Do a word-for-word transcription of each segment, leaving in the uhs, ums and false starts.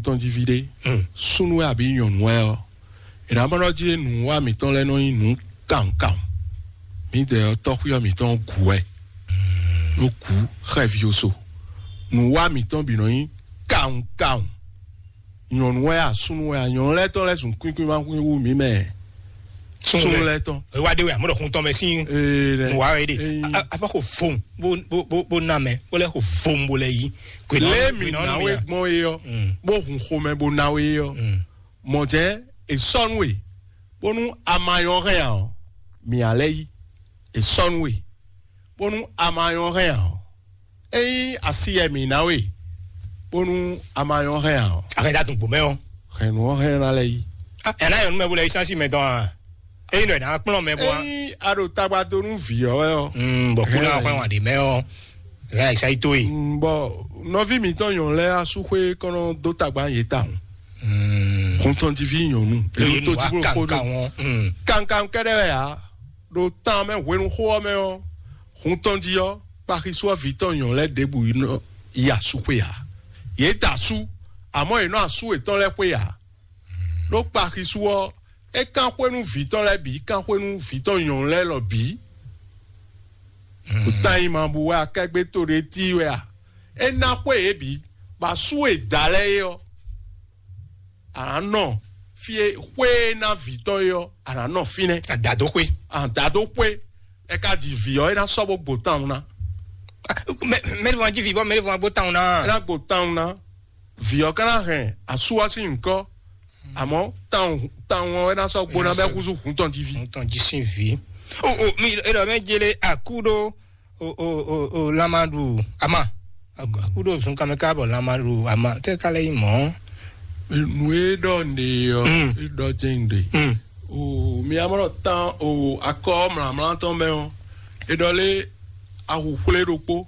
tɔn jí ví ɖé, súnnu wɛ abǐ nyɔ̌nu wɛ ɔ́, è nǎ mɔ ɖɔ jí nǔwiwa mǐtɔn lɛ́ɛ nɔ nyí nǔ kawun kawun. Mǐdɛɛ ɔ́, tɔ́xwíyɔ mǐtɔn ɔ́ gǔ wɛ, ɖó gǔ xɛví oso. Nǔwiwa mǐtɔn bǐ nɔ nyí kawun kawun. Nyɔ̌nu wɛ a, súnnu wɛ a, nyɔ̌nu lɛ́ɛ tɔn lɛ́ɛ zun kwín kwín ma kwín wú mǐ mɛ. Súnnu lɛ́ɛ tɔn. Wá ɖe wɛ, àmọ́ ɖɔ hun tɔn mɛ sín. Ee, nɛ. Wá wɛ ɖe. Ee. A- a- afɔ ko fon bó bó bó bó ná mɛ, bó lɛ ko fon bó lɛ yí. Lé mi nǎ wé gbɔn yé ɔ́, bó hun xomɛ bó ná wé yé ɔ́, mɔ̌ jɛ́n è sɔ́ nú we, bónú a ma nyɔ́ hɛn ǎ ɔ́, mǐ ǎ lɛ́ yí. È sɔ́ nú we, bónú a ma nyɔ́ hɛn ǎ ɔ́, ényí asi yɛ mǐ ná we, bónú a ma nyɔ́ hɛn ǎ ɔ́, a hɛn dá dun gbǒ mɛ ɔ́. Hɛn nǔ ɔ́ hɛn ná lɛ́ yí. Ɛ ná yɔ nú mɛ bó lɛ yí sánsì mɛ tɔn a? Ényí nɔ ná kplɔ́n mɛ bó a? Ényí a ɖo tagba dó nú vǐ ɔ́ wɛ ɔ́, bɔ kú ná hwɛ wǎn ɖé mɛ ɔ́, ɛ ná yí sá yi tó e. Bɔ nɔví mǐtɔn nyɔ̌nu lɛ́ɛ asúxwé kɔn nɔ dó tagba yě tawun. Hun tɔn jí ví nyɔ̌nu. Lóye nú wa kankan wọn. Kankan kɛ́ɖɛ́ wɛ ǎ. Ɖo tan mɛ hwenu xó ɔ́ mɛ ɔ́, hun tɔn jí ɔ́, kpaxisú ɔ́ vǐ tɔn nyɔ̌nu lɛ́ɛ ɖěbǔ yi nɔ yi asú xwé ǎ. Yě da asú, amɔ̌ yě nɔ asú yětɔn lɛ́ɛ xwé ǎ. Ɖó kpaxisú ɔ́, é kán xwé nú vǐ tɔn lɛ́ɛ bǐ, kán xwé nú vǐ tɔn nyɔ̌nu lɛ́ɛ lɔ bǐ. Tan nyi ma bú wɛ akɛgbé to ɖé tí wɛ a? É ná xwé yě bǐ, bɔ asú e da lɛ́ɛ é ɔ́, a nǎ nɔ fí e xwé e ná vǐ tɔn é ɔ́, a nǎ nɔ fínɛ́. Adǎdóxwé. Adǎdóxwé. É ka ji vǐ ɔ́, é ná sɔ́ bó gbo tawun ná. Mɛɖevɔn jí vǐ bɔ mɛɖevɔn gbó tawun ná. É ná gbo tawun ná. Vǐ ɔ́ ka ná hɛn asú ɔ́ sín nyǐkɔ, àmọ́ tawun tawun ɔ́ é ná sɔ́ gbo ná bɛ́ húzú hun tɔn jí ví. Hun tɔn jí sín vǐ. O o mi e ɖɔ mɛ jele akúɖó o o o o lamaɖu ama akúɖó zunkanmɛ ká bɔ lamaɖu ama tɛ ká lɛ yi mɔ. Nǔ e ɖɔ nɖe ɔ́, e ɖɔ jɛ́n nɖe. O mi amɔ tan o akɔ mlǎmlá tɔn mɛ ɔ́, e ɖɔ lé awu xwlé ɖokpó.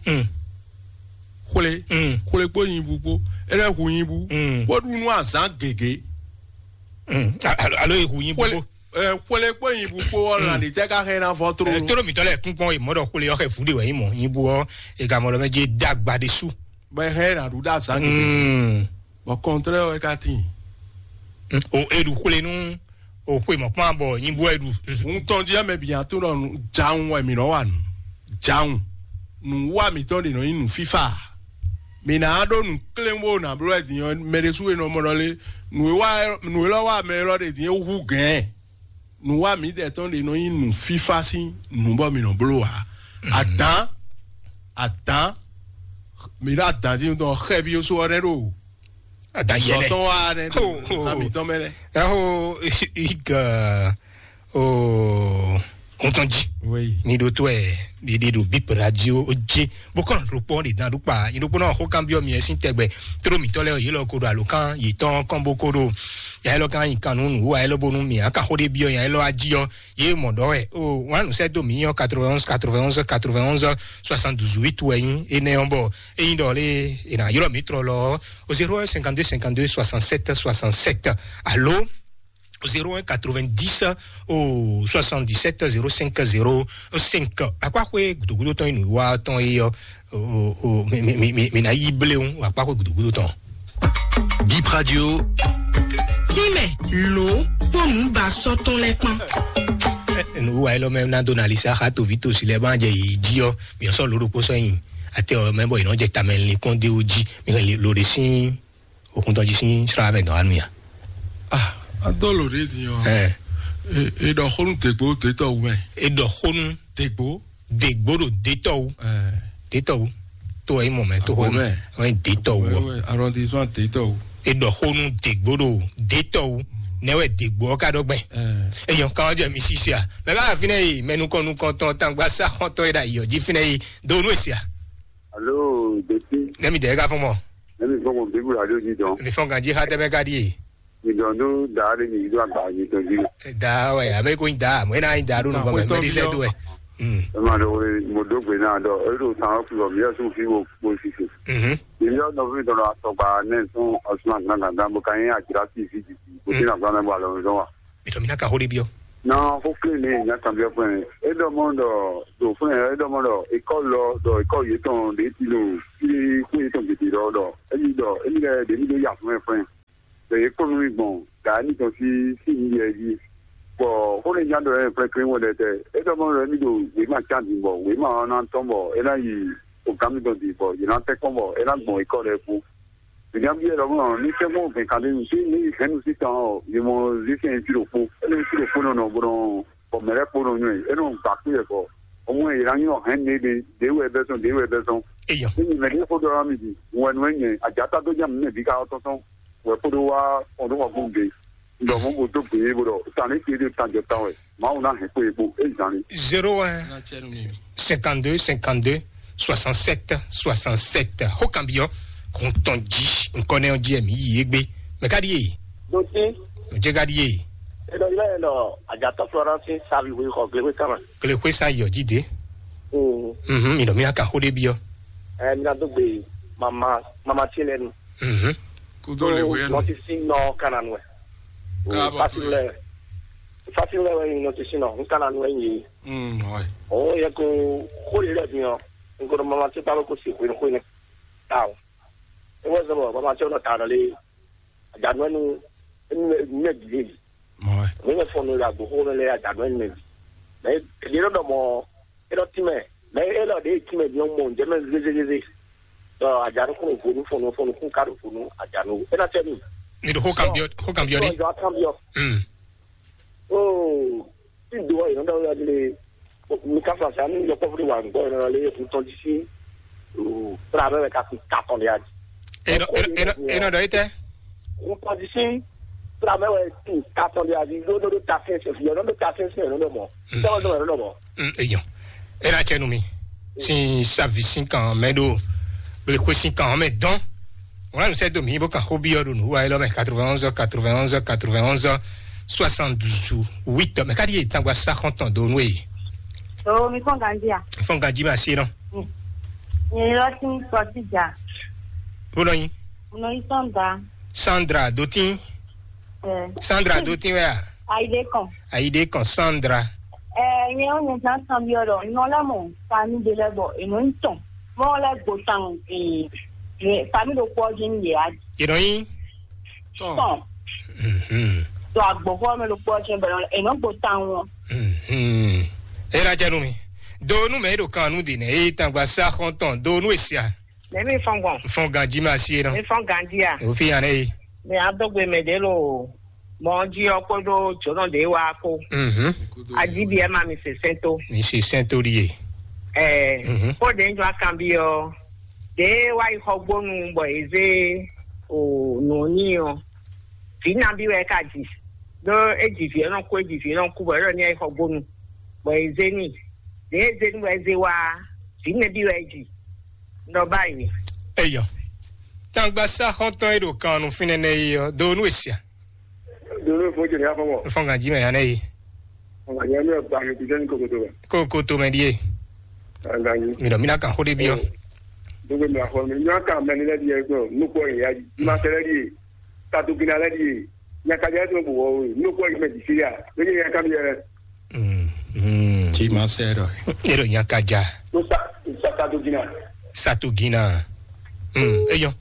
Xwlé xwlé kpó nyibú kpó, e ɖɔ hu nyibú bó ɖu nú azǎn gěgé. Alo alo e hu nyibú kpó. Xwlé kpó nyibú kpó ɔ́, lan ɖi tɛ ká xɛ ná vɔ tló. Tóɖó mǐtɔn lɛ́ɛ kún kpɔn e mɔ̌ ɖɔ xwlé ɔ́ xɛ vǔ ɖe wɛ nyí mɔ̌ nyibú ɔ́ e gamɔ ɖɔ mɛ jɛ dagba ɖé su. Bɔ ɛ xɛ ná ɖu ɖó azǎn gěgé. Bɔ kɔntrɛ ɔ́ ka tín. O e ɖu xwlé nú o xwe mɔ̌ kpán bɔ nyibú ɛ ɖu. Hun tɔn jí mɛ bǐ nya tó ɖɔ jawun wɛ mǐ nɔ wa nǔ. Jawun nǔ wa mǐtɔn ɖe nɔ nyí nǔ fífá. Mǐ ná ɖó nǔ kléwó ná bló wɛ din ɔ́, mɛ ɖésú e nɔ mɔ ɖɔ lé nǔ e wa nǔ e lɔ wa mɛ élɔ́ ɖe din é hú gɛ̌n. Nǔ wa mǐdɛɛ tɔn ɖe nɔ nyí nǔ fífá sín nǔ bɔ mǐ nɔ bló ǎ. Adǎn adǎn mǐ ɖo adǎn jí ɖɔ xɛví ɔ́ sú ɔ́ nɛ́ ɖo Adayɛlɛ. Sɔtɔn wa nɛ ɖo ami tɔn mɛ nɛ. Ɛho ig o ŋutɔn ji. Oui. Ni ɖo to ɛ ɖiɖi ɖo bip radio o ji bó kɔn ɖo kpɔn ɖe dan ɖo kpa yi ɖo kpɔn xó kan biɔ mi ɛsin tɛgbɛ tro mi tɔ lɛ yi lɔ ko ɖo alo kan yi tɔn kɔn bó ko ɖo ya lɔ kan yi kan nu nu wa lɔ bonu mi aka xó ɖe biɔ ya lɔ aji ɔ ye mɔ ɖɔ wɛ o wan nu sɛ do mi yɔ quatre-vingt-onze quatre-vingt-onze quatre-vingt-onze soixante-dix-huit wɛ nyi enɛ ɔ bɔ eyin ɖɔ le ena yɔrɔ mi trɔ lɔ o zéro un cinquante-deux cinquante-deux soixante-sept soixante-sept alo zéro un quatre-vingt-dix au soixante-dix-sept zéro cinq zéro cinq. Akpa xwe gudogudo tɔn inu wa tɔn yi yɔ o o mi mi mi mi na yi bleun akpa xwe gudogudo tɔn. Bip Radio. Tínmɛ ló kpónú ba sɔ́ tɔn lɛ́ kpán. Nuwa elɔ mɛ na dona lisa xa to vi to si lɛ ba jɛ yi ji ɔ mi sɔ lo ɖokpo sɔ yin ate ɔ mɛ bɔ yi nɔ jɛ tamɛ linkɔn de o ji mi lo de sin okun tɔn ji sin sra mɛ dɔn anu ya. Ah, a dɔ lo de din ɔ. Ɛ. E e ɖɔ xonu degbo detɔ wu mɛ. E ɖɔ xonu degbo. Degbo ɖo detɔ wu. Ɛ. Detɔ wu. To yi mɔ mɛ to xonu. Mɛ. Wɛ detɔ wu. Wɛ arrondissement detɔ wu. E ɖɔ xonu degbo ɖo detɔ wu. Nɛ wɛ degbo ɔ ka ɖɔ gbɛ. Ɛ. Eyɔn kan jɛ mi sisi a. Mɛ b'a fi nɛ yi mɛ nukɔn nukɔn tɔn tangba sa xɔntɔn yi ɖa yi ɔ ji fi nɛ yi do nu esi a. Alo, Deti. Nɛ mi dɛ ka fɔn mɔ. Nɛ mi fɔn mɔ bibu radio ji dɔn. Mi fɔn ganji xa tɛ mɛ ka di ye. Mi dɔn do da de mi do agba mi tɔn ji. Da wɛ abe ko da mo ena da do nukɔn mɛ mɛ di sɛ do wɛ. Ema ɖɔ we mo do gbe na ɖɔ e ɖo tan ɔ kulɔ mi yɛ sun fi wo kpo sise. Mhm. Mi yɔ nɔvi dɔn atɔgba nɛ sɔn ɔsuma gangan bo kan ye adzra si fi di. Bo ti na gba mɛ bo alɔ mi dɔn wa. Mi tɔ mi na ka xó ɖe biɔ. Na xó klé ne nya kan biɔ fún ɛ. E ɖɔ mɔ ɖɔ ɖo fún ɛ e ɖɔ mɔ ɖɔ ekɔ lɔ ɖɔ ekɔ yetɔn ɖe ti lo fi xó yetɔn gidi ɖɔ ɖɔ eyi ɖɔ eyi lɛ ɖe mi ɖo ya fún ɛ fún ɛ. Bɔ yě kpɔ́n nú mì gbɔn dǎ mitɔn sín sí nǔyɛ jí. Bɔ xó ɖé nya ɖɔ ɛ kplɛ́kplɛ́ wɛ ɖɛtɛ. É ɖɔ mɔ ɖɔ mì ɖo wěma cán din bɔ wěma ɔ́ ná tɔ́n bɔ é ná yi o gǎn mitɔn din bɔ yě ná tɛ́nkpɔ́n bɔ é ná gbɔn é kɔ ɖɛ kpó. Mǐ ná byɔ́ ɖɔ mɔ ní tɛ́nkpɔ́n gɛ̌n kan ɖé nu sí ní hɛ̌nnu sí tɔn ɔ́, yě mɔ zé sɛn sí ɖokpó. É nɔ sí ɖokpó nɔ nɔ bó nɔ bɔ mɛ lɛ́ɛ kpó nɔ nywɛ́ é nɔ gba kú yɛ kɔ. Ɔmɔ yě ná nyɔ hɛ̌nnu ɖé ɖé wɛ bɛ́ sɔn ɖé wɛ bɛ́ sɔn. Eyɔ. Ní nyɛ mɛ ɖé xó ɖɔ ná mi ɖi wɛn nú ɛ nyɛ ajá tá dó nya mǐ mɛ bǐ ka ɔ́ tɔ́n tɔn. Wɛ kó ɖó wá ɔdún wá gbɔn gbé. Ndɔ mɔ bó dó gbé bó ɖɔ sani ké ɖé tan jɔ tan wɛ. Mawu ná hɛn kó e kpó é zan ni. Zéro un cinquante-deux cinquante-deux soixante-sept soixante-sept. Xó kan byɔ́ xɔntɔn jí nkɔnɛ ɔ́ jí ɛmí yí égbé. Mɛ ka ɖíe? Dotí. Jɛ ka ɖíe? Eɖɔ yɔ ɛ lɔ ajatɔ Florence savi wé xɔ gléwé kama. Gléwé sa yɔ jí dé. Mm. Mhm, mi ɖɔ mi ná ka xó ɖé byɔ́. Ɛ mi ná dó gbe mama mama tí lɛnu. Mhm. Kúdó lè wé nù. Nɔtisi nɔ kana nu ɛ. Káàbọ̀ Fasi tó lɛ. Fasi lɛ wɛ nyi nɔtisi nɔ nkana nu ɛ nyi. Mm, ouais. O yɛ ko xó lè lɛ bi ɔ. Nkɔnɔ mama tí kpalo ko si xwé xwé ne. Taw. Ewɔ zɔbɔ mama tí ɔnɔ ta nɔ lé. Ajanɔ nu. Enu mɛ bi lé. Ouais. Mi ne fɔn nu la gbogbo ne lé ajanɔ nu mɛ bi. Mɛ yɛ lɔ dɔ mɔ. Yɛ lɔ ti mɛ. Mɛ yɛ lɔ de ti mɛ bi ɔn mɔ njɛ mɛ zézézé. Dɔ ajanɔ kɔnɔ vonu fɔn nu fɔn nu kun ka do vonu ajanɔ. Ena tɛ mi. Mi ɖo xó kan byɔ́, xó kan byɔ́ ɖé. Xó kan byɔ́. Mm. Oo, tí do ɔ yìí nɔ ɖɔ wɛ lé. Mi ka fa sa ní yɔkpɔ́ fúnni wà ń gbọ́ yìí nɔ lé yẹ fún tɔn jí sí. Tra mɛ wɛ ka kun ta tɔn de adi. Enɔ, enɔ, enɔ, enɔ ɖɔ yi tɛ. Fún tɔn jí sí. Tra mɛ wɛ kun ta tɔn de adi. Ló ló ló ta fɛn sɛ fi ɔnɔ ló ta fɛn sɛ ɔnɔ mɔ. Tɔn dɔn ɔnɔ mɔ. Mm, eyɔn. Ena cɛ nu mi. Sin savi sin kan mɛ ɖo. Gbelekoe sin kan mɛ dɔn. Wọn nù sɛ do mi bó kan xó byɔ́ ɖo nǔ wa élɔ́ mɛ quatre-vingt-onze quatre-vingt-onze quatre-vingt-onze soixante-douze huit mɛ káɖí yě tangba sá xɔ́ntɔn dó nú èyí. O mi fɔn ganji a? Fɔn ganji ma sí nɔ. Nyɛ lɔ ti ń sɔ sí jà. Bó nɔ yín. Mo nɔ yí Sandra. Sandra dó tín. Ɛ. Sandra dó tín wɛ a? Ayide kan. Ayide kan Sandra. Ɛ nyɛ ó nyɛ zan kan byɔ́ ɖɔ nɔ lɛ mɔ fami ɖe lɛ bɔ ènɔ ń tɔn. Mɔ lɛ gbo tan ee fami ɖo kpɔ jí ní yɛ a. Yě nɔ yín. Tɔn. Mhm. To agbɔfɔ mɛ ɖo kpɔ jí bɛ ènɔ gbo tan wọn. Mhm. E na jɛ nu mi. Do nu mɛ e ɖo kan nu di nɛ e tangba sa xɔntɔn do nu esia. Mɛ mi fɔn gbɔn. Fɔn ganji ma si e nɔ. Mi fɔn ganji a. O fi yan ne yi. Mi a dɔgbe mɛ de lo. Mɔ ji ɔ kpodo jɔnɔ de wa ko. Mhm. Aji bi ɛ ma mi se sɛnto. Mi se sɛnto di ye. Ɛɛ. Mhm. Ko de jɔ akan bi ɔ. De wa yi xɔ gbonu bɔ eze o nɔ ni ɔ. Vi nabi wɛ ka ji. Ɖo e ji vi ɔ nɔ ko e ji vi ɔ nɔ ku bɔ e ɖɔ ni ayi xɔ gbonu. Bɔ eze ni. De eze ni bɔ eze wa. Vi nɛbi wɛ e ji. Nɔ ba yi. Eyɔ. Tangba sa xɔntɔn e ɖo kan nu finɛ nɛ yi ɔ do nu esia. Dolo fo jeli afɔ wɔ. Fɔn ganji mɛ yanɛ yi. Fɔn ganji mɛ ba mi kujɛ ni kokoto ba. Kokoto mɛ die. Ganji. Mi dɔ mi na kan xo de bi ɔ. Dogo mi afɔ mi nyɔ kan mɛ ni lɛ di yɛ ko nu ko ya ma sɛ lɛ di. Tatu gina lɛ di. Nya ka jɛ to bo wɔ nu ko mɛ di si ya. Ni ya ka mi yɛ. Mm. Tí ma sɛ dɔ. E ɖo nya ka ja. Sa tatu gina. Satu gina. Mm. Eyɔ.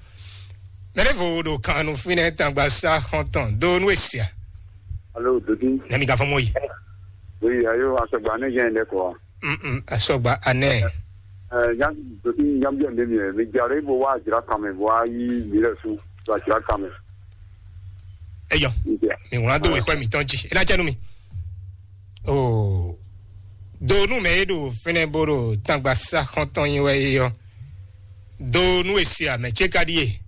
Mɛɖevo ɖo kan nu fínɛ́ tangba sá xɔntɔn do nú esia. Alo dodi. Nɛmi ka fɔ mɔ yi. Oui, ayo asɔgba ne jɛn ɖe kɔ. Mm, asɔgba anɛ. Ɛ nya dodi nya bi ande mi mi jare bo wa jira kan mɛ bo wa yi mi lɛ su wa jira kan mɛ. Eyɔ. Mi wla do wexɔ mi tɔn ji. E na jɛ nu mi. Oh. Do nu mɛ e ɖo fínɛ́ bo ɖo tangba sá xɔntɔn yi wɛ yi yɔ. Do nu esia mɛ ce ka ɖie.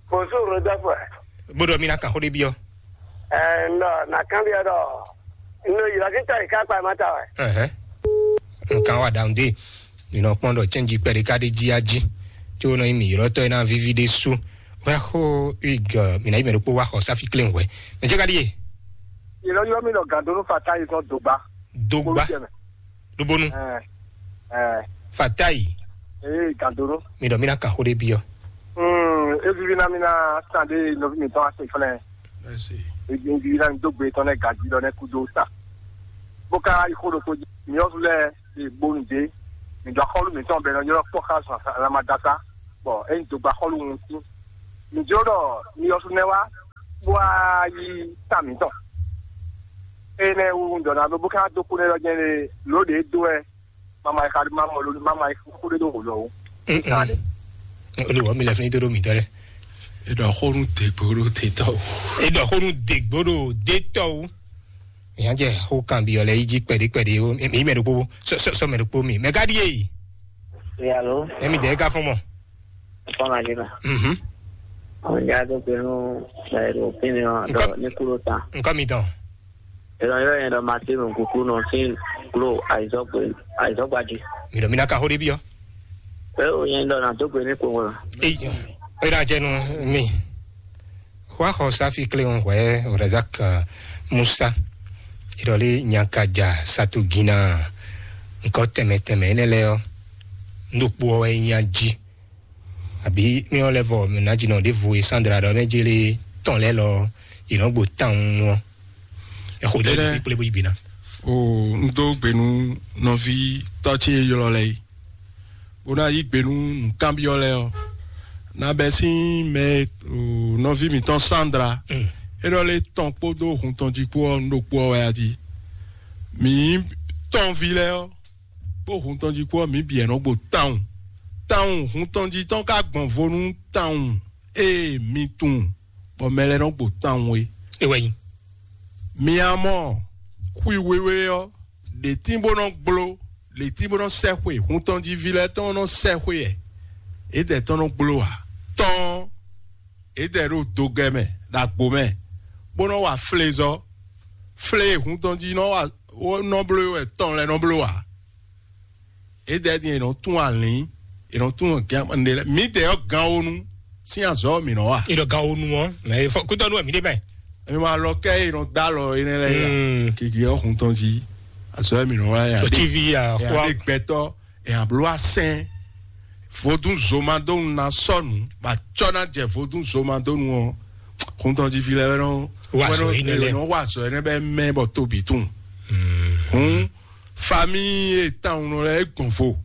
Bonjour, Rodolphe. Bodo mina kan xo ɖe biɔ. Ɛɛ, nɔ na kan biɔ dɔ. Nɔ yira kita yi ka kpa ma ta wɛ. Ɛhɛ. Nkan wa down de. Mi nɔ kpɔn dɔ change kpɛ ɖe ka ɖe ji aji. Tso nɔ yi mi yɔrɔ tɔ yi na vivi ɖe su. Wa xo ig mi na yi mɛ ɖokpo wa xɔ safi klen wɛ. Mɛ ce ka ɖie. Yira yɔ mi nɔ gandonu fata yi sɔn dogba. Dogba. Lubonu. Ɛɛ, ɛɛ. Fatayi. Ee, gandoro. Mi dɔ mi na kan xo ɖe biɔ. Hmm, evivi na mi na san de nɔvi mi tɔn ase fɛnɛ. Evivi na mi do gbe tɔn nɛ gaji dɔ nɛ kudo sa. Bo ka yi xo ɖo ko mi yɔ lɛ e gbonu de. Mi dɔ xɔlu mi tɔn bɛ nɔ yɔ kpɔ xa zɔn sa la ma da sa. Bɔ e do gba xɔlu ŋu si. Mi jɔ dɔ mi yɔ su nɛ wa. bó wá yí ta mǐtɔn. Énɛ́ wú un ɖɔ ná ɖó bó ká dó kú nɛ́ lɔ jɛ́n lé lǒ ɖě dó wɛ mama yi xa mama lo mama yi xú ɖé ɖó wǒ lɔ ó. Olùwọ́ mi lɛ fún yín tó ɖó mǐtɔn lɛ. Eɖɔ xó nú dègbò ɖó tètɔ o. Eɖɔ xó nú dègbò ɖó détɔ o. Mìá jɛ xó kanbyɔ lɛ yí jí kpɛɖí kpɛɖí o. Mǐ mɛ ɖokpó sɔ sɔ mɛ ɖokpó mi mɛ ká ɖíe yi. Alo. Ɛmi dɛ ká fún mɔ. Fɔlá yìí la. Mhm. Àwọn ìyá tó gbé nú ẹ̀rọ òfin ni wọn Nǹkan- ní kúrò tán. Nǹkan mi tán. Ìrọ̀ yóò yẹn lọ máa tí mò ń kúkú nù sí kúrò àìsọ́gbàdì. Mìɖɔ mi ná ka xó ɖé byɔ́. Pé ó yẹn lọ nà tó gbé ní kò wọ́n. Eyi, ó yà jẹ́ nu mi. Wá xɔ sáfì clé ń hwẹ́ Razak Musa. Ìrọ̀lẹ́ nyakajà satugina. Nǹkan tẹ̀mẹ̀tẹ̀mẹ̀ énɛ́ lɛ ɔ́. Ndokpo ɔ́ wɛ nya jí. Àbí mí ɔ́ lɛ́ vɔ mǐ ná jí nɔ ɖěvo e Sandra ɖɔ mɛ jélé tɔn lɛ́ lɔ yě nɔ gbo tawun ɔ́. Ɛ xo ɖé Énɛ́. Kplé bó yi gbe ná. O, un dó gbe nú nɔví tɔ́ ce e ylɔ́ lɛ́ɛ é, bó ná yí gbe nú nǔkanbyɔ́ lɛ́ɛ ɔ́. Ná bɛ́ sín mɛ e, o, nɔví mǐtɔn Sandra Mm. é ɖɔ lé tɔn kpódó hun tɔn jí kpó ɔ́, un ɖo kpó ɔ́ wɛ a jí. Mǐ tɔnví lɛ́ɛ ɔ́, kpó hun tɔn jí kpó ɔ́, mǐ bǐ wɛ nɔ gbo tawun. Tawun hun tɔn jí tɔn ka gbɔn vo nú tawun e mi tunwun bɔ mɛ lɛ́ɛ nɔ gbo tawun é. É wɛ nyí. Mi a mɔ xwi wéwé ɔ́, ɖě tín bó nɔ gbló, ɖě tín bó nɔ sɛ́ xwe, hun tɔn jí ví lɛ́ɛ tɔn nɔ sɛ́ xwe ɛ, é dɛ tɔn nɔ gbló ǎ. Tɔn é dɛ ɖo dogɛ mɛ, ɖo agbo mɛ, bó nɔ wa flezɔ́. Flé e hun tɔn jí nɔ wa nɔ bló wɛ tɔn lɛ́ɛ nɔ bló ǎ. É dɛ din è nɔ tún alǐn, è nɔ tún gǎn mǐdɛɛ ɔ́ gan wónú sín azɔ̌ mǐ nɔ wa. È nɔ gan wónú ɔ́, mɛ fɔ kútɔ́ nú wɛ mǐ ɖe bɛ. Èmi máa lɔ kẹ́ è nɔ dá lɔ énɛ́ lɛ́ɛ ya. Gègé ɔ́ hun tɔn jí azɔ̌ mǐ nɔ wa ya. Sotí ví ya xwá. Gbɛtɔ́ èèyàn bló asɛn. Vodún zomadónu ná sɔ́nù bɔ acɔ́ ná jɛ vodún zomadónu ɔ́, hun tɔn jí fi lɛ́ɛ wɛ nɔ Wa azɔ̌ énɛ́ lɛ́ɛ. Nɔ wa azɔ̌ énɛ́ bɛ mɛ bɔ tóbi tún. Hun famíyi e tawun nɔ lɛ́ɛ é gbɔn vo.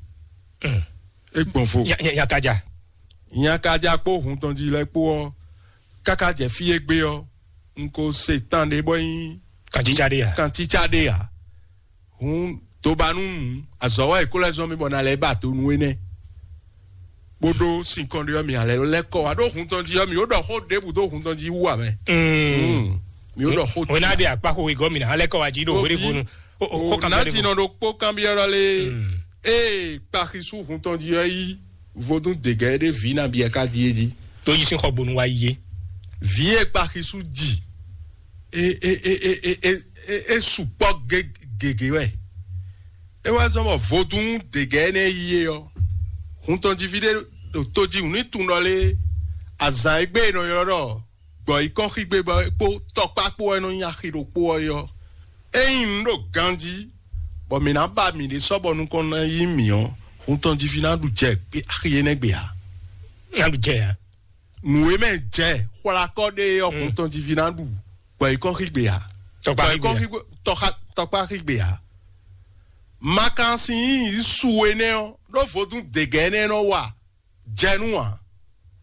É gbɔn vo. Nyakaja. Nyakaja kpó hun tɔn jí lɛ́ɛ kpó ɔ́, káká jɛ fí e gbé ɔ́, un ko se tan ɖé bɔ nyí Kantítsá ɖé ya. Kantítsá ɖé ya. Hun dobanú nǔ azɔ̌ wá è kó lɛ́ zɔ́n mì bɔ ná lɛ́ ba do nú énɛ́. Bó ɖó sinkɔn ɖé ɔ́, mì alɛ lɛ́ kɔ wá ɖó hun tɔn jí ɔ́, mì ó ɖɔ xó ɖěbǔ dó hun tɔn jí wú ǎ mɛ. Mm. Mì ó ɖɔ xó Wena de akpaxo igɔ mina alɛ kɔ wa ji ɖo wele fonu. O o o kɔkɔ na bɛ jinɔ ɖo kpó kanbyɔ́ ɖɔ lé. Ee kpaxisú hun tɔn jí ɔ́ yí vodún dègɛ ɖé vǐ na biɛ ká díe jí. Tó yi sín xɔ gbonu wa yi yé. Vǐ e kpaxisú jì e e e e e e e e sukpɔ ge- gege wɛ. E wá zɔn bɔ vodún dègɛ énɛ́ yi é ɔ́, hun tɔn jí ví ɖé ɖo tó jí wǔ ní tun ɖɔ lé azǎn e gbé e nɔ ylɔ́ ɖɔ gbɔ̌ yi kɔn xígbe bɔ é kpó tɔkpá kpó wɛ nɔ nyi axi ɖokpó ɔ́ é ɔ́. Ényí un ɖo ganjí bɔ mǐ ná ba mǐɖée sɔ́ bɔ nukɔn ná yí mǐ ɔ́, hun tɔn jí ví ná ɖu jɛ axi énɛ́ gbe ǎ. Ná ɖu jɛ ǎ. Nǔ e mɛ jɛ xwlakɔ ɖe ɔ́, hun tɔn jí ví ná ɖu gbɔ̌ yi kɔn xígbe ǎ. Tɔkpá Gbɔ̌ yi kɔn xígbe ǎ. Xígbe- tɔkpá- tɔkpá xígbe ǎ. Makan sin yí su énɛ́ ɔ́, ɖó vodún dègɛ énɛ́ nɔ wa jɛ nú ǎ.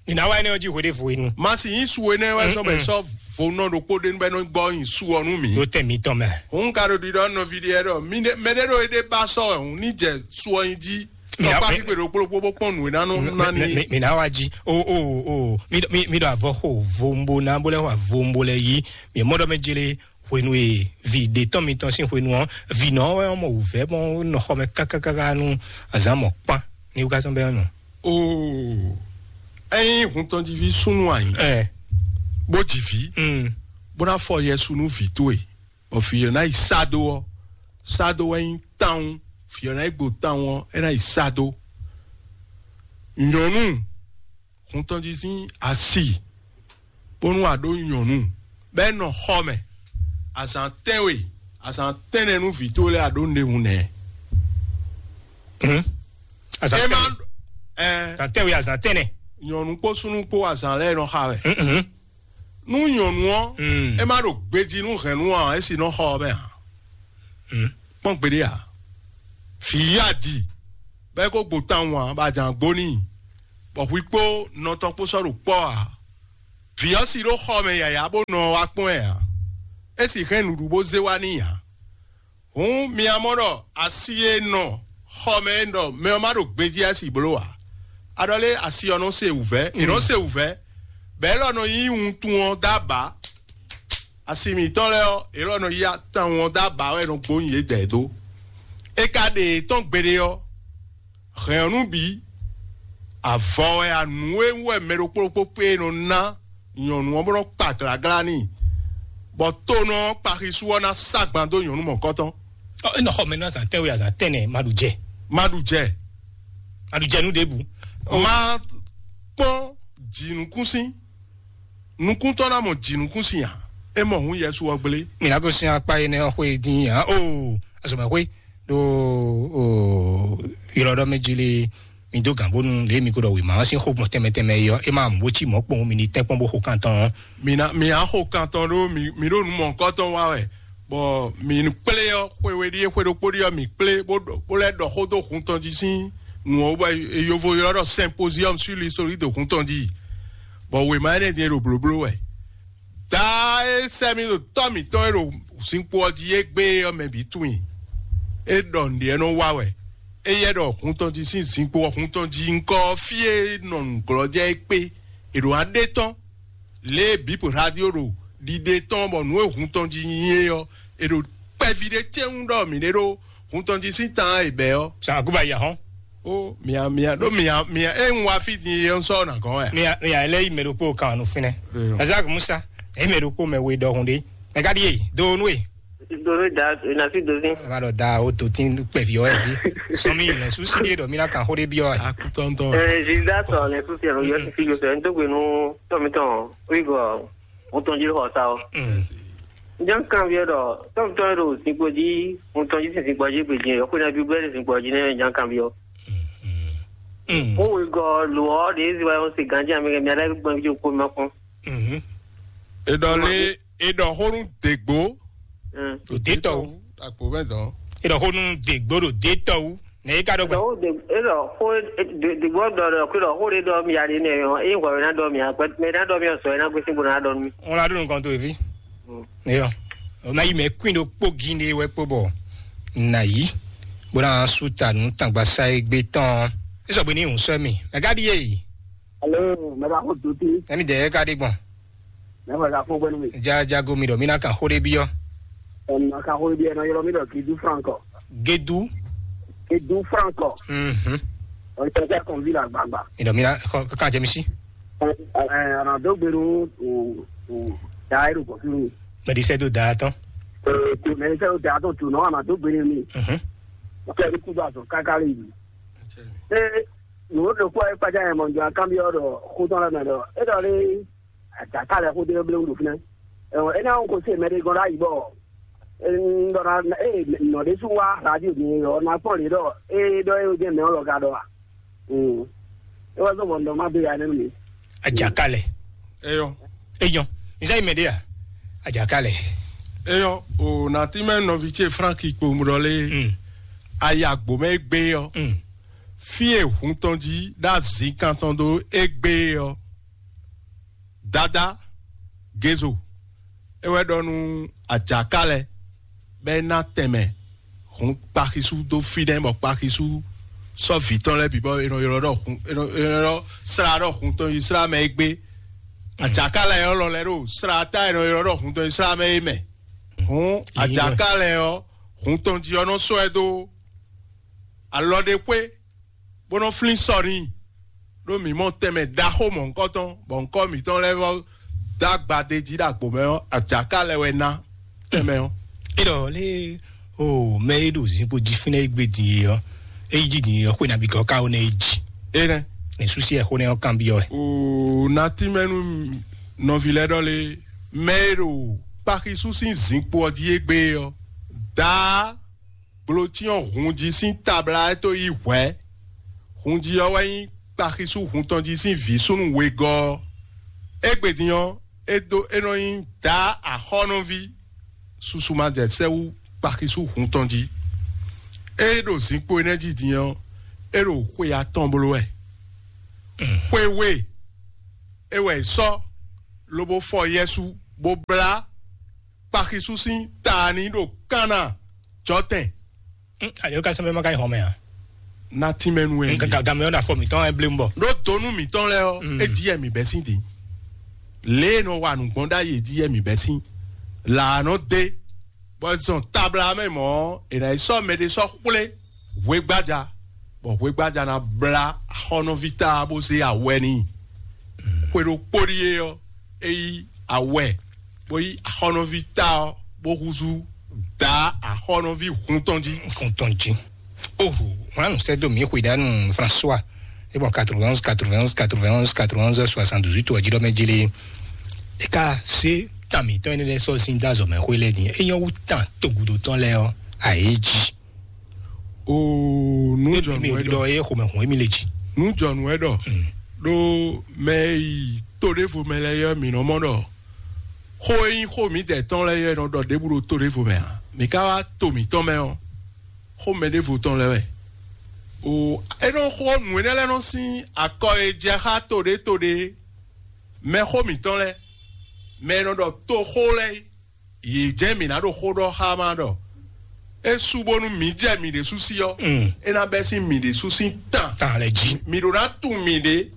Nina wa énɛ́ ɔ́ jí hweɖévo enu. Ma sin yí su énɛ́ wɛ sɔ́ bɛ sɔ́ vo nɔ ɖokpó ɖé nú bɛ nɔ gbɔ nyi su ɔ́ nú mǐ. Ɖó tɛ mǐtɔn mɛ. Òun ka ɖo ɖiɖɔ nɔví ɖé ɖɔ mɛ ɖé ɖo éɖé ba sɔ́ ɛ hǔn ní jɛ su ɔ́ nyi jí. Mina- Tɔkpá mi- xígbe ɖokpó ɖokpó bó kpɔn nǔ e ná nɔ ná Mi- ní. mi- mi- Mina wa jí. O o o. Mi mi mi ɖo avɔ xo vombo na bó lɛ xo avombo lɛ yí. Mi mɔ ɖɔ mɛ jele hwenu e vi ɖe tɔn mitɔn sín hwenu ɔ́, vi nɔ wɛ mɔ wǔvɛ́ mɔ nɔ xɔ mɛ kákákáká nú azǎn mɔ kpán ní wúkásán bɛ nɔ. Oo, ényí hun tɔn jí ví súnnu anyi, Ɛ. Bó jí ví, Mm. Bó ná fɔ yɛsu nú vǐ towe, bɔ vǐ ɔ́ ná yi sá dó ɔ́, sá dó wɛ nyí tawun, vǐ ɔ́ ná yi gbo tawun ɔ́, é ná yi sá dó. Nyɔ̌nu hun tɔn jí sín asi, bónú a ɖó nyɔ̌nu, bɔ é nɔ xɔ mɛ, azǎn tɛ́nwe, azǎn tɛ́nnɛ nú vǐ towe lɛ́ɛ a ɖǒ nǔɖé hun nɛ́. Azǎn É má tɛ́nwe. Ɛ, Azǎn tɛ́nwe, azǎn tɛ́nnɛ. Nyɔ̌nu kpó súnnu kpó azǎn lɛ́ɛ nɔ xa wɛ. Mhm. Nú nyɔ̌nu ɔ́, Mm. É má ɖo gbejí nú hɛ̌nnu ǎ, é sì nɔ xɔ ɔ́ mɛ ǎ. Mm. Kpɔ́n gbeɖé ǎ. Vǐ yí adi, bɔ é ko gbo tawun ǎ, bɔ a jǎn gbo n'i, bɔ hwi kpó nɔ tɔn kpó sɔ́ ɖo kpɔ́ ǎ. Vǐ ɔ́ si ɖó xɔ mɛ yǎyá bó nɔ wá kpɔ́n ɛ ǎ. É si hɛn nǔɖuɖu bó zé wá n'i ǎ. Hǔn mi ná mɔ ɖɔ asi e nɔ xɔ mɛ e ɖɔ mɛ ɔ́ má ɖo gbejí asi bló ǎ. Aɖɔlé asi ɔ́ nɔ se wǔvɛ́, è nɔ se wǔvɛ́, bɔ élɔ́ nɔ yí wuntun ɔ́ dó abǎ. Asi mǐtɔn lɛ́ɛ ɔ́, élɔ́ nɔ yí atawun ɔ́ dó abǎ wɛ è nɔ gbónyi yědɛɛ dó. É ka ɖe yě tɔn gbeɖé ɔ́, hɛ̌n ɔ́ nú bǐ, avɔ wɛ anǔ e wú wɛ mɛ ɖokpó ɖokpó kpé e nɔ ná nyɔ̌nu ɔ́ bó nɔ́ kpa glǎglá n'i, bɔ tonɔ ɔ́ kpa xisú ɔ́ ná sá gban dó nyɔ̌nu mɔ̌kɔtɔn. Ɔ, é nɔ xɔ mɛ nú azǎn tɛ́nwe, azǎn tɛ́nnɛ, ma ɖu jɛ. Ma ɖu jɛ. Ma ɖu jɛ nú ɖěbǔ. Ma kpɔ́n jǐnukúnsin. Nukúntɔ́ ná mɔ jǐnukúnsin ǎ. É mɔ hǔn Yɛsu ɔ́ gblé. Mi ná gosín akpá énɛ́ ɔ́ xwé dín ǎ. Oo, azɔ̌mɛxwé ɖo ylɔ́ɖɔ́ mɛ jí lé. Mi dó gǎn bónú lě mi ko ɖɔ wěma ɔ́ sín xó gbɔn tɛnmɛ tɛnmɛ é ɔ́, é má mú bó cí mɔ̌ kpɔn mi ní tɛ́n kpɔ́n bó xo kan tɔn ɔ́. Mi ná mi á xo kan tɔn ɖó mi mi ɖo nǔ mɔ̌hunkɔtɔn wa wɛ, bɔ mi kplé ɔ́ xwe we ɖíe xwe ɖokpó ɖíe ɔ́ mi kplé bó ɖɔ bó lɛ́ ɖɔ xó dó hun tɔn jí sín nǔ ɔ́ bɔ yovo ylɔ́ ɖɔ symposium sur l'histoire de hun tɔn jí, bɔ wěma énɛ́ din e ɖo blǒbló wɛ. Daa e sɛ́ mì ɖo tɔ́ mǐtɔn e ɖo zinkpo ɔ́ jí égbé ɔ́ mɛ bǐ tunwun i. É ɖɔ nǔɖé nɔ wa wɛ. Éyɛ́ ɖɔ hun tɔn jí sín zinkpo ɔ́ hun tɔn jí ŋkɔ ɔ́ fí e nɔ nǔglɔ́jɛ é kpé. È ɖǒ ná ɖe tɔ́n. Lě e bǐ radio ɖo ɖiɖe tɔn bɔ nǔ e hun tɔn jí nyi é ɔ́, è ɖo kpɛví ɖé cɛ́nwú ɖɔ mǐ ɖé ɖó hun tɔn jí sín tan e bɛ̌ ɔ́. Sàn àkúba yà hɔn. Ó mia mia ɖó mia mia é ń wá fí din é ń sɔ́ nà gɔ́n wɛ. Mia mia lɛ yi mɛ ɖokpó kan nu fínɛ. Ezak Musa, é mɛ ɖokpó mɛ we ɖɔhun ɖé. Mɛ ka ɖi yé do nú e. Donu da na fi dozi. Ema ɖɔ da o to tin kpɛvi ɔ́ ɛvi. Sɔmi lɛ susi ɖe ɖɔ mi na kan xó ɖé biɔ ɛ. Akutɔntɔ. Ɛɛ zida sɔ lɛ susi ɛlò yɔ sisi yɔ sɔ ɛn dogbe nu tɔmitɔn wigɔ wotɔn jí xɔ sa o. Jan kan biɔ ɖɔ tɔmitɔn ɖo zinkpo jí wotɔn jí sin zinkpo jí gbe jí yɔ xwena bi gbɛ zinkpo jí ne jan kan biɔ. Ko wigɔ lo ɔ de ezi wa yɔ se ganji ami kɛ mi ada gbɔn bi ko ma kɔn. Edɔ le edɔ xonu degbo. Ɖo dé tɔwú. Akpo mɛ dɔn. Edɔ xonu degbo ɖo dé tɔwú. Nɛ yi ka ɖo gbɛ. Dɔwɔ de edɔ xo degbo dɔ dɔ kpe dɔ xo de dɔ mi ya de nɛ yɔ eye ŋgɔ na dɔ mi akpɛ mɛ na dɔ mi sɔ na gbesi bo na dɔ mi. Ŋun la ɖo nukɔn to evi. Eyɔ. O na yi mɛ kuin ɖo kpó gin ɖe wɛ kpó bɔ na yi. Bó na su ta nu tangba sa egbe tɔn. Esɔ gbe ni ŋun sɔ mi. Mɛ ka ɖi ye yi. Alo, mɛ ka xo doti. Ɛmi dɛ ka ɖi gbɔn. Mɛ ka xo gbɛnu mi. Ja jago mi ɖɔ mi na kan xo ɖe biɔ. Ɛmi na kan xo ɖe biɔ ɛnɔ yɔrɔ mi ɖɔ Gedu Franco. Gedu. Gedu Franco. Mhm. Ɔyɛ tɛ kɔn vi la gbagba. Mi ɖɔ mi na xɔ kan jɛ mi si. Ɛ ɛ ana do gbenu o o da ero kɔ fi mi. Mɛ di sɛ do da tɔn. Ee, mɛ di sɛ do da tɔn tu nɔ ana do gbenu mi. Mhm. Ɔkɛ ni kudo azɔ kaka le yi. Ee, nǔ ɖokpó ɛ kpaja yɛ mɔ jɔ akanbyɔ ɖɔ xó tɔn lɛ mɛ ɖɔ e ɖɔ lé adaka lɛ xó ɖé blé wúɖu fínɛ. Ɛwɔ é ná ŋkó sí mɛ ɖé gɔn ɖ'ayǐ bɔ un ɖɔ ná ee nɔ ɖé sú wá radio mi ɔ ná kpɔn lě ɖɔ ee ɖɔ é jɛ mɛ ɔ́ lɔ ka ɖɔ a. É wá zɔn bɔ un ɖɔ má dó ya nɛ́ nú mi. Ajakalɛ. Eyɔ. Eyɔ. Nzá yi mɛ ɖé a? Ajakalɛ. Eyɔ o nàtí mɛ nɔvi ce Frank Ikpomrɔ lé. Ayagbo mɛ gbé yɔ. Fí e hun tɔn jí ɖo azǐn kan tɔn dó égbé ɔ́, Dada Gezo é wɛ ɖɔ nú Ajakalɛ bɔ é ná tɛnmɛ hun kpaxisú dó fínɛ́, bɔ kpaxisú sɔ́ vǐ tɔn lɛ́ɛ bǐ bɔ è nɔ ylɔ́ ɖɔ hun è nɔ è nɔ ylɔ́ slá ɖɔ hun tɔn yi slá mɛ égbé. Ajakalɛ ɔ́ lɔ lɛ́ ɖo slá ta è nɔ ylɔ́ ɖɔ hun tɔn yi slá mɛ é mɛ. Hǔn Ajakalɛ ɔ́, hun tɔn jí ɔ́ nɔ sɔ́ ɛ dó alɔ ɖé xwé bó nɔ́ flín sɔ n'i. Ɖó mǐ mɔ tɛnmɛ ɖaxó mɔ̌hunkɔtɔn bɔ ŋkɔ́ mǐtɔn lɛ́ɛ vɔ dó agbadé jí ɖo agbo mɛ ɔ́, Ajakalɛ wɛ ná tɛnmɛ ɔ́. É ɖɔ lé o mɛ e ɖo zinkpo jí fínɛ́ e gbé din e ɔ́, é yi jí din e ɔ́, xwe nabí gɔ́ ká ó nɛ é jí. Énɛ́. Ní súsí ɛ xó nɛ ɔ́ kanbyɔ́ wɛ. O natí mɛ nú nɔví lɛ́ɛ ɖɔ lé mɛ e ɖo kpaxisú sín zinkpo ɔ́ jí égbé ɔ́, daa gblǒcyɔ́n hun jí sín tabla ɛ tó yí hwɛ̌. Hun jí ɔ́ wɛ nyí kpaxisú hun tɔn jí sín vǐ súnnu wegɔ́ ɔ́. Égbé din ɔ́, é dó é nɔ nyí daa axɔ́nɔví. Susu ma jɛ sɛ́ wú kpaxisú hun tɔn jí. É ɖo zinkpo énɛ́ jí din ɔ́, é ɖo xwe atɔn bló wɛ. Xwe we é wɛ è sɔ́ lobo fɔ Yɛsu bó blá kpaxisú sín ta ní ɖo Kana jɔtɛn. Alo ka sɔn bɛ ma ka yi xɔmɛ a? Na tínmɛnu ɛ. Nka gamɛ ɔ́ na fɔ mǐtɔn ɛ blé mu bɔ. Ɖó donu mǐtɔn lɛ́ɛ ɔ́, é jí yɛ mǐ bɛ́ sín din. Lě e nɔ wa nǔgbɔn ɖ'ayǐ é jí yɛ mǐ bɛ́ sín. Lǎ nɔ dé, bɔ zɔn tabla mɛ mɔ̌, è nǎ yi sɔ́ mɛɖé sɔ́ xwlé hwegbaja, bɔ hwegbaja ná blá axɔ́nɔví ta bó zé awɛ n'i. Xwe ɖokpó ɖíe ɔ́, é yí awɛ, bó yí axɔ́nɔví ta ɔ́, bó húzú dǎ axɔ́nɔví hun tɔn jí. Kun tɔn jí. Oh, wọn nù sɛ do mi xwe danu François. E bɔ quatre-vingt-onze, quatre-vingt-onze, quatre-vingt-onze, quatre-vingt-onze, soixante-dix-huit, wa jí ɖɔ mɛ jele. E ka se tan mǐtɔn énɛ́ lɛ́ɛ sɔ́ sín dó azɔ̌ mɛ xwé lɛ́ɛ din. É nyɔ́ wú tan togudo tɔn lɛ́ɛ ɔ́, a yě jí. Oo, nú jɔnu wɛ ɖɔ. Ɖɔ ye xomɛ hun emi le dzi. Nú jɔnu wɛ ɖɔ. Ɖó mɛ yi to ɖěvo mɛ lɛ́ɛ yɔ mǐ nɔ mɔ ɖɔ xó e nyí xó mǐdɛɛ tɔn lɛ́ɛ yɔ nɔ ɖɔ ɖěbǔ ɖo to ɖěvo mɛ a? Mǐ ka wá to mǐtɔn mɛ ɔ́, xó mɛ ɖěvo tɔn lɛ́ɛ wɛ. O, é nɔ xó nǔ énɛ́ lɛ́ɛ nɔ sín akɔ e jɛ xá to ɖé to ɖé mɛ xó mǐtɔn lɛ́ɛ, mɛ e nɔ ɖɔ to xó lɛ́ɛ é. Yě jɛ́n mǐ ná ɖo xó ɖɔ xá ma ɖɔ é sú bónú mǐ jɛ mǐ ɖésú sí ɔ́, é ná bɛ́ sín mǐ ɖésú sín tan. Tan lɛ jí. Mǐ ɖó ná tunwun mǐɖée,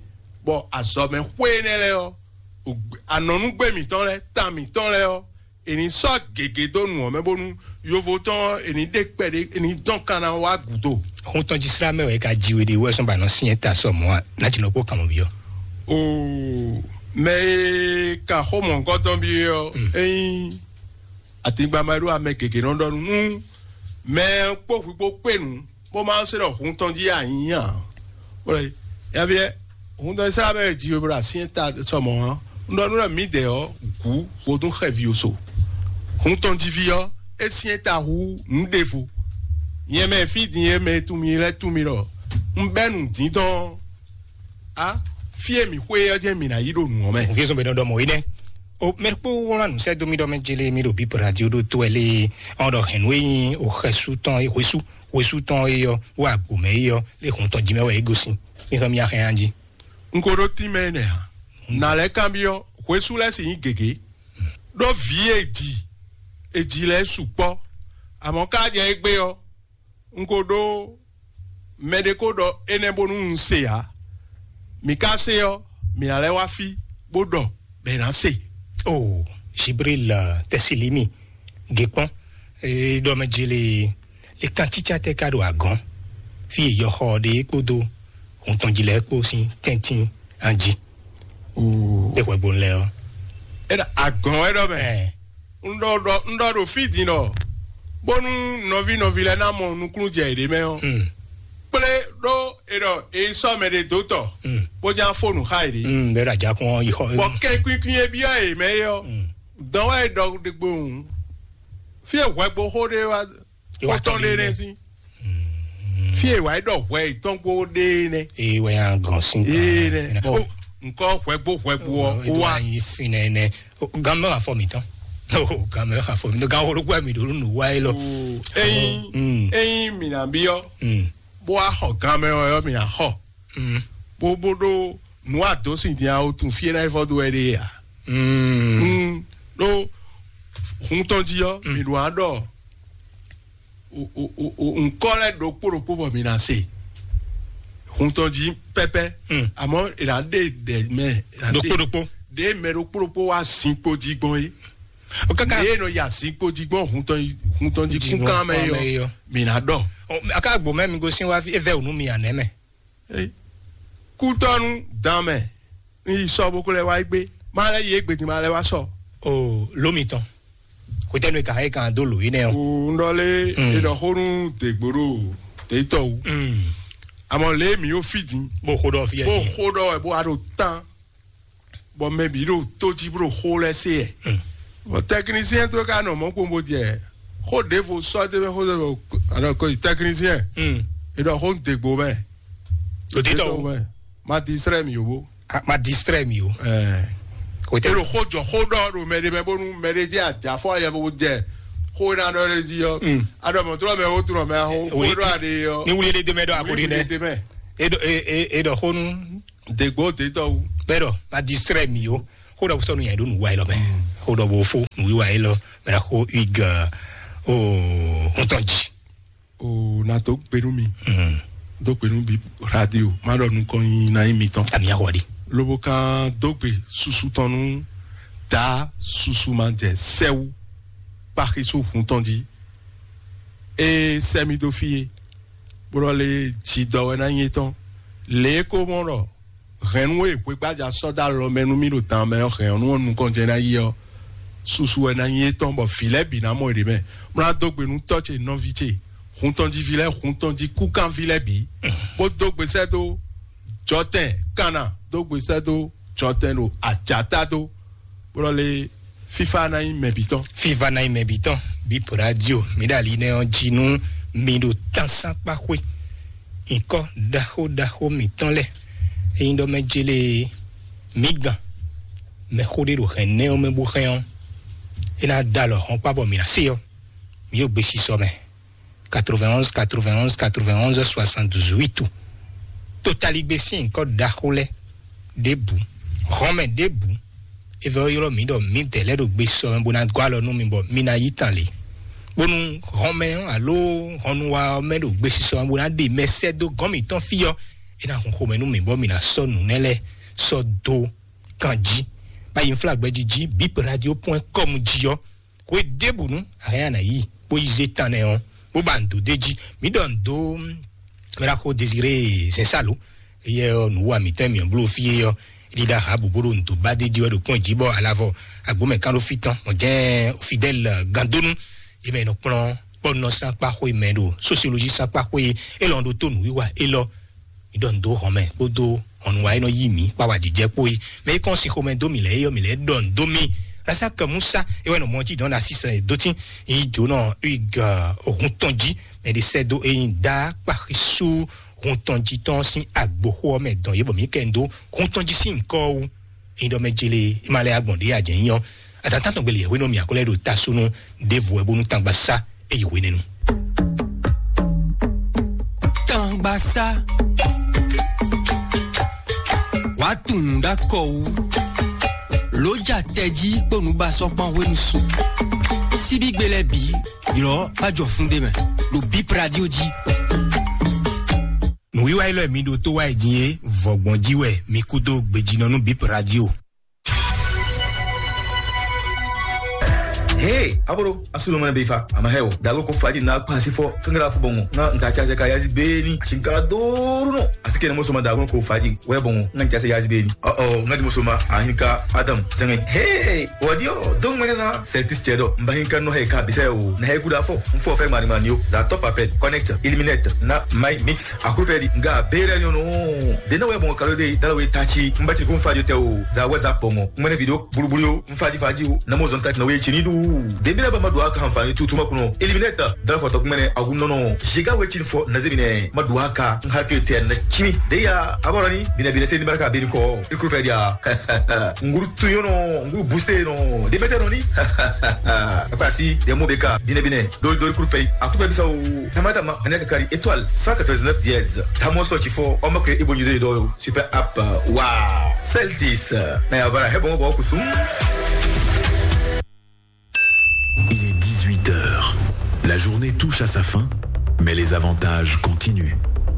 bɔ azɔ̌mɛ xwé énɛ́ lɛ́ɛ ɔ́, anɔ̌núgbé mǐtɔn lɛ́ɛ, tan mǐtɔn lɛ́ɛ ɔ́, è nǐ sɔ́ gěgé dó nǔ ɔ́ mɛ bónú yovo tɔn ɔ́, è nǐ ɖe kpɛɖé, è nǐ dɔn kan ná wá gǔdo. Xó tɔn jí slá mɛ wɛ ka ji we ɖe wɛ sɔn ba nɔ sinyɛ ta sɔ mɔ̌ a? Ná ji nɔ kpó kanmɔ byɔ́. Oo, mɛ e kan xó mɔ̌hunkɔtɔn byɔ́ ɔ́, é nyí atingba ma ɖó amɛ gěgé nɔ ɖɔ nú mɛ kpó hwi kpó kpé nǔ, bó ma se ɖɔ hun tɔn jí anyí ǎ. Bó lɛ yaviɛ hun tɔn srá mɛ ji bó ɖo asyɛn ta sɔmɔ hã. Un ɖɔ nú ɖɔ mǐdɛɛ ɔ́, gǔ vodún xɛvi oso. Hun tɔn jí ví ɔ́, é syɛn ta hú nǔ ɖěvo. Nyɛ mɛ fí din e mɛ tún mi lɛ́ tún mi ɖɔ un bɛ́ nǔ dín tɔn á, fí e mǐ xwe ɔ́ jɛ́n mǐ ná yí ɖo nǔ ɔ́ mɛ. Vizɔn bɛ nɔ ɖɔ mɔ énɛ́. O mɛ kpó wlán nǔ sɛ́ dó mì ɖɔ mɛ jele mì ɖo bíbɔ radio ɖó tó ɛ lé. Ɔn ɖɔ hɛn nú e nyí o xɛsú tɔn e hwesú hwesú tɔn e yɔ wo agbo mɛ e yɔ lé hun tɔn jí mɛ wɛ é gosín. Mi xɔ mi axɛ yan jí. Un ko ɖó tínmɛ énɛ́ ǎ. Nǎ lɛ́ kanbyɔ́, hwesú lɛ́ɛ sì nyí gěgé. Ɖó vǐ e ji e ji lɛ́ɛ sukpɔ́. Amɔ̌ ká jɛ égbé ɔ́, un ko ɖó mɛɖé ko ɖɔ énɛ́ bónú un se ǎ. Mǐ ka se ɔ́, mǐ ná lɛ́ wá fí bó ɖɔ bɔ è nǎ se. O Jibril Tɛsilimi Gekpɔn e ɖɔ mɛ jele le kan cícá tɛ ka ɖo agɔn fi e yɔxɔ ɖe kpódó hun tɔn jí lɛ́ɛ kpó sín tɛ́ntin anjí. Ɖe hwɛgbonu lɛ ɔ́. Agɔn wɛ ɖɔ mɛ. Un ɖɔ ɖɔ un ɖɔ ɖo fí din ɖɔ bónú nɔví nɔví lɛ́ɛ ná mɔ nukúnnú jɛ yěɖée mɛ ɔ́, kplé ɖó e ɖɔ e sɔ́ mɛ ɖé dó tɔ bó ján fó nǔ xá yěɖée. Bɛ́ ɖo ajakun ɔ́ yi xɔ. Bɔ kɛnkwíkwín e byɔ́ yě mɛ é ɔ́, dɔn wɛ é ɖɔ ɖe gbo hǔn. Fí e hwɛgboxó ɖé wá xɔtɔn ɖé nɛ́ sín. Fí e wǎ yi ɖɔ hwɛ yětɔn kpó ɖe nɛ́. Ee wɛ yà gɔn sín. Ee nɛ. Bɔn nkɔ hwɛgbo hwɛgbo ɔ ó wá. Yi finɛ nɛ. Gan mɛ wà fɔ mi tán. Gan mɛ wà fɔ mi tán. Gan wolo gbɛ mi ɖo nù wá yé lɔ. Eyin eyin mi nà bi ɔ. Bó wá xɔ gan mɛ ɔ yɔ mi nà xɔ. Bó bó ɖó nǔ àdó sin dín awo tún fí é ná yi fɔ dó wɛ ɖe yà. Ɖó hun tɔn jí ɔ mi ɖo aɖɔ nkɔ lɛ ɖokpó ɖokpó bɔ mi na se hun tɔn jí pɛpɛ. Àmọ́ ìlà ɖe ɖe mɛ. Ɖokpó ɖokpó. Ɖe mɛ ɖokpó ɖokpó wa zinkpo jí gbɔn yé. Kaka ɖe nɔ ya zinkpo jí gbɔn hun tɔn jí kún kan mɛ yɔ mi na ɖɔ. Aka gbo mɛ mi go sin wa fi evɛ onu mi anɛ mɛ. Kútɔnu dan mɛ. N yi sɔ bó kó lɛ wá gbé. Má lɛ yí égbé din má lɛ wá sɔ. O ló mi tɔn. Kò tẹnu ìka yìí kan dó lò yìí nẹ o. N ɖɔ lé e ɖɔ xó nú dègbòɖò tètò wú. Àmọ́ lé mi yóò fi dín. Bó xó ɖɔ fi ẹ̀ bó dín. Xó ɖɔ ẹ̀ bó wá ɖo tán. Bɔ mɛ bǐ ɖo tó jí bó ɖo xó lɛ́ɛ se ɛ. Bɔ tɛkinisiyɛn tó ka nɔ mɔ̌ kpɔn bó jɛ xó ɖěvo sɔ́ dé mɛ xó ɖěvo anɔ ko yi tɛkinisiyɛn. E ɖɔ xó dègbò mɛ. Òtítọ́ o. Mɛ ma distrɛ mi o bó. Ma distrɛ mi o. Kò tɛ. Elo xó jɔ xó ɖɔ ɖo mɛ ɖe mɛ bónú mɛ ɖe jẹ́ àjàfọ́ yẹ bó jẹ xó iná ɖɔ ɖe jí yɔ. Aɖɔ mɔ̀túrọ̀ mɛ ó túnọ̀ mɛ ahó xó ɖɔ àɖe yɔ. Ní wuli ɖe dé mɛ ɖɔ àkó ɖe dɛ. Wuli ɖe dé mɛ. E ɖɔ e e e ɖɔ xó nú. Dègbò dètɔ wu. Bẹ́ẹ̀ dɔ ma distrɛ mi o. Xó ɖɔ sɔ́ nú nyɛ ɖó nǔ wa élɔ́ mɛ. Xó ɖɔ bo fó nǔ wa élɔ́ mɛ ɖɔ xó Hugues o hɔntɔn jí. O na dó gbe nú mi. Dó gbe nú bi radio. Má ɖɔ nukɔn nyi na nyí mitɔn. Ami axɔ ɖi. Lobo kan dó gbe susu tɔn nú da susu ma jɛ sɛwu kpaxi sú hun tɔn jí. E sɛ mi dó fí e, bó ɖɔ lé jidɔ wɛ ná nyí étɔn. Lě e ko mɔ ɖɔ hɛ̌nnu e hwegbájá sɔ́ dó alɔ mɛ nú mì ɖo dan mɛ ɔ́, hɛ̌nnu ɔ́ nukɔn jɛ ná yi ɔ́, susu wɛ ná nyí étɔn, bɔ vǐ lɛ́ɛ bǐ ná mɔ yěɖée mɛ. Mlá dó gbe nú tɔ́ ce, nɔví ce, hun tɔn jí ví lɛ́ɛ, hun tɔn jí kúkanví lɛ́ɛ bǐ, bó dó gbe sɛ́ dó jɔtɛn kanna, dó gbe sɛ́ dó jɔtɛn ɖo ajǎta dó, bó ɖɔ lé fífá ná nyí mɛ bǐ tɔn. Fífá ná nyí mɛ bǐ tɔn. Bípo radio mi ɖo ali nɛ ɔ́ jí nú mi ɖo tánsán kpáxwé. Nyǐkɔ ɖaxó ɖaxó mǐtɔn lɛ́ɛ, ényí ɖɔ mɛ jélé mǐ gán mɛ xó ɖé ɖo hɛ̌n nɛ́ ɔ́ mɛ bó hɛn ɔ́, é ná dó alɔ hɔn kpá bɔ mǐ ná se ɔ́, mǐ ɖo gbesisɔ mɛ. Quatre-vingt-onze, quatre-vingt-onze, quatre-vingt-onze, soixante-dix-huit. Totaligbé sín nyǐkɔ ɖaxó lɛ́ɛ ɖěbǔ, hɔnmɛ ɖěbǔ, é vɛ ɔ́ ylɔ́ mǐ ɖɔ mǐdɛɛ lɛ́ɛ ɖo gbesisɔ mɛ bó ná gɔ́ alɔ nú mi bɔ mi ná yí tan lě. Bónú hɔnmɛ ɔ́ alo hɔnnuwa ɔ́ mɛ ɖo gbesisɔ mɛ bó ná ɖe mɛ sɛ́ dó gɔ́n mǐtɔn fí ɔ́, é ná hun xomɛ nú mǐ bɔ mǐ ná sɔ́ nǔ nɛ́ lɛ́ɛ sɔ́ dó kan jí. Bá yi nflá gbɛjí jí bip radio point com jí ɔ́, hwe ɖěbǔnu a hɛn a nǎ yi bó yi zé tan nɛ ɔ́, bó ba nǔ dó d'é jí. Mǐ ɖɔ nǔ dó mɛɖaxó Désiré Zɛnsalo, éyɛ́ ɔ́ nǔ wa mǐtɔn e mǐ bló fí é ɔ́, é ɖíɖá Ahabu bó ɖo nǔ dó ba d'é jí wɛ ɖo kpɔ́n jí bɔ alavɔ agbǒmɛ kán ɖó fí tɔn, mɔ jɛ́n Fidɛ́l Gandónú, é mɛ è nɔ kplɔ́n kpɔ́nɔ sín akpá xwé mɛ ɖo sósiolózi sín akpá xwé élɔ́ ɖó tó nǔwiwa élɔ́. Mǐ ɖɔ nǔ dó hɔn mɛ kpódó hɔnnu wa e nɔ yí mǐ kpá wá jijɛ kpó é. Mɛ e kɔn sin xomɛ dó mǐ lɛ́ɛ é ɔ́, mǐ lɛ́ɛ ɖɔ nǔ dó mì. Rasaka Musa é wɛ nɔ mɔ jí dɔn na sísɛ dó tín yi jǒnɔ Hugues ohun tɔn jí. Mɛ ɖé sɛ́ dó é nyí dá kpaxisú hun tɔn jí tɔn sín agboxó ɔ́ mɛ dɔn yě bɔ mǐ kɛ nǔ dó hun tɔn jí sín ŋkɔ wú. Ényí ɖɔ mɛ jélé é ma lɛ́ agbɔ̌n ɖé ǎ jɛ̌ nyí ɔ́, azǎn tántɔn gbé lě wɛ nɔ mì akwɛ́ lɛ́ɛ ɖo ta súnú ɖěvo wɛ bónú tangbaṣá é yi hwenɛ́nu. Tangbaṣá wàá tunwun ɖó akɔ wú, ló ja tɛjí kpó nǔbasɔ́kpán hwenu su. Síbígbe lɛ́ɛ bǐ ylɔ́ bá jɔ fún ɖé mɛ ɖo bíp radio jí. Nǔwiwa élɔ́ e mi ɖo tó wá yi din é, vɔ̌gbɔn jí wɛ mi kú dó gbejínɔ nú bíp radio. Hey, aboro, asu no mane be fa, ama heo, dago ko faji na kwa si fo, fingala fo bongo, na nta cha se ka yazi beni, chingala doru no, asike na mo soma dago ko faji, we bongo, na cha se yazi beni. Oh, oh, na mo soma, ahinka, Adam, zenge. Hey, wadio, dong mene na, Celtics chedo, mba hinka no he ka bise o, na he kuda fo, mfo fe mani mani yo, za top appel, connect, eliminate, na my mix, akupeli, nga bere no no. Dena we bongo kalo de, dala we tachi, mba chi kun faji te o, za WhatsApp bongo, mene video, bulubulu yo, mfadi fadi o, na mo zɔn tati na we chini du. Dembele ba ma do aka hanfani tutu ma kuno. Eliminate, dala foto kumene agun no no. Jiga we chini fo na zemine, ma do aka, nhake te na chimi. De ya, aborani, bine bine se ni baraka bini ko. Ikru pedia. Nguru tuyo no, nguru booster no. De mete no ni. Apa si, de mo beka, bine bine. Dori dori kuru pei. Aku pe bisa o. Tamata ma, anya kakari étoile cent quatre-vingt-dix-neuf dièse. Tamo so chifo, o ma ke ibo nyide do. Super app. Wow. Celtis. Na ya bara, he bon, bon, kusum. Il est dix-huit heures. La journée touche à sa fin, mais les avantages continuent.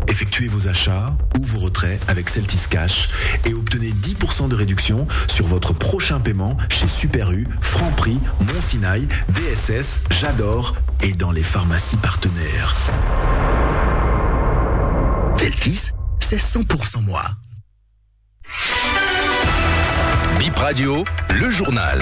Effectuez vos achats ou vos retraits avec Celtis Cash et obtenez dix pour cent de réduction sur votre prochain paiement chez Super U, Franprix, Mon Sinaï, B S S, J'adore et dans les pharmacies partenaires. Celtis, c'est cent pour cent moi. Bip Radio, le journal.